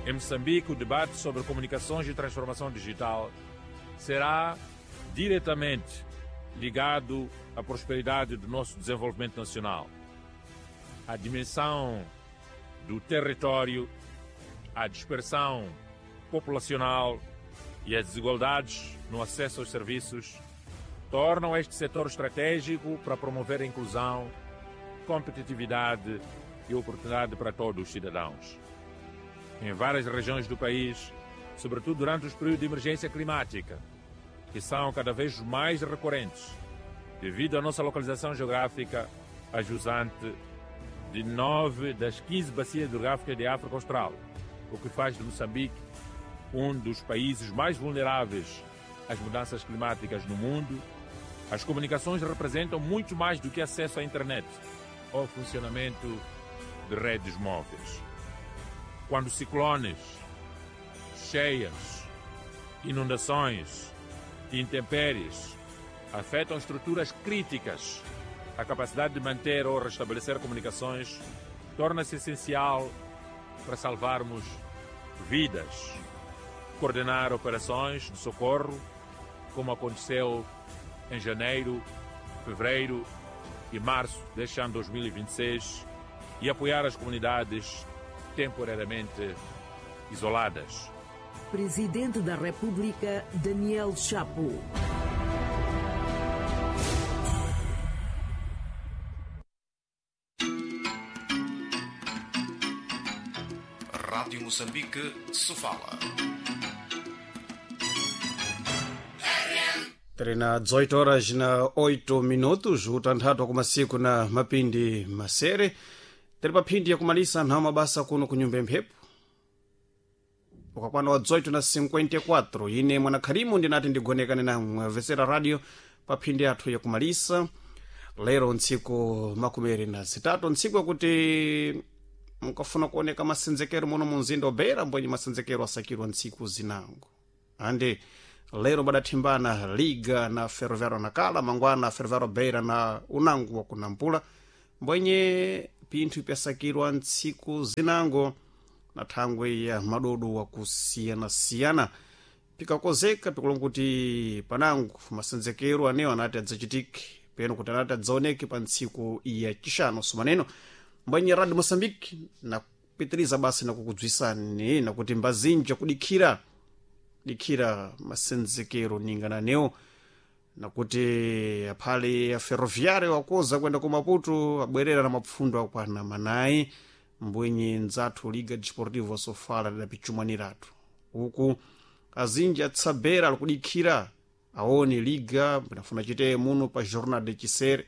Em Moçambique, o debate sobre comunicações e transformação digital será diretamente ligado à prosperidade do nosso desenvolvimento nacional. A dimensão do território, a dispersão populacional e as desigualdades no acesso aos serviços tornam este setor estratégico para promover a inclusão, competitividade e oportunidade para todos os cidadãos. Em várias regiões do país, sobretudo durante os períodos de emergência climática, que são cada vez mais recorrentes, devido à nossa localização geográfica a jusante de 9 das 15 bacias hidrográficas de África Austral, o que faz de Moçambique um dos países mais vulneráveis às mudanças climáticas no mundo. As comunicações representam muito mais do que acesso à internet ou funcionamento de redes móveis. Quando ciclones, cheias, inundações e intempéries afetam estruturas críticas, a capacidade de manter ou restabelecer comunicações torna-se essencial para salvarmos vidas, coordenar operações de socorro, como aconteceu em janeiro, fevereiro e março deste ano 2026, e apoiar as comunidades temporariamente isoladas. Presidente da República, Daniel Chapo. Rádio Moçambique, Sofala. Tiri na 18 horas na 8 minutos, utanthatu kumasiku na mapindi masere. Tiri pa phindi yakumalisa nthawi mabasa kuno ku nyumba ya mphepo. Ukakwana wa 18 na 54, ine mwanakhalimu ndinati ndigonekane namwe vesera radio pa phindi yathu yakumalisa. Lero ntsiku 23, ntsiku yakuti mukafuna kuoneka masenzekero muno mu mzinda wa mbwenye masenzekero asakirwa ntsiku zinango. Ande lero badathimbana Liga na Ferroviário Nacala, mangwana Ferroviário Beira na unango wa kunampula, mbwenye pinthu pyasakirwa ntsiku zinango na thangwe ya madodo wakusiyanasiyana. Pikakozeka pikulonga kuti panango masenzekero anewo anati adzachitike peno kuti anati adzaoneke pa ntsiku ya chixano sumaneno. Mbwenye Radio Moçambique nakupitiriza basi nakukudzwisani nakuti mbazinja kudikhira dikhira masenzekero ningana newo, nakuti aphale a Ferroviário wakoza kwenda ku Maputo abwerera na mapfundo akwana manayi, mbwenye ndzathu Liga Desportivo Sofala lidapichumaniratu. Uku azinji atsabera alikudikhira aone Liga pinafuna chiteye muno pa Jornada de Chisere,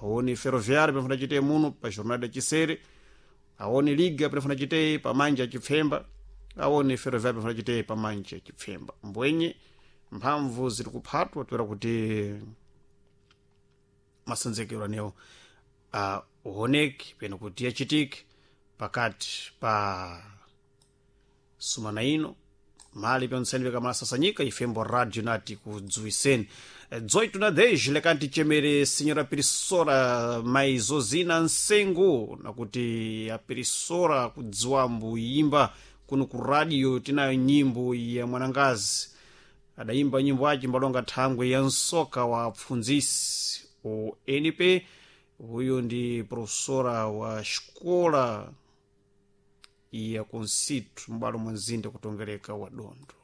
aone Ferroviário pinafuna chiteye muno pa Jornada de Chisere, aone Liga pinafuna chiteye pa manja chipfemba, aone Ferroviário pinafuna chiteye pa manja chipfemba. Mbwenye mphamvu ziri kuphatwa toera kuti masenzekero anewo aoneke peno kuti achitike pakati pa sumana ino mali pyontseni pikamasasanyika ifembo radio nati kudziwiseni. 18 na 10 lekati chemere senhora Pirisora maizozina nsengo, nakuti a Pirisora kudziwambo imba kuno ku radio tinayo nyimbo ya mwanangazi adayimba nyimbo aci mbalonga thangwe ya nsoka wa pfundzisi o NP. Huyo ndi professora wa xikola ya kunsitu m'balo mwa mzinda kutongereka wa Dondo.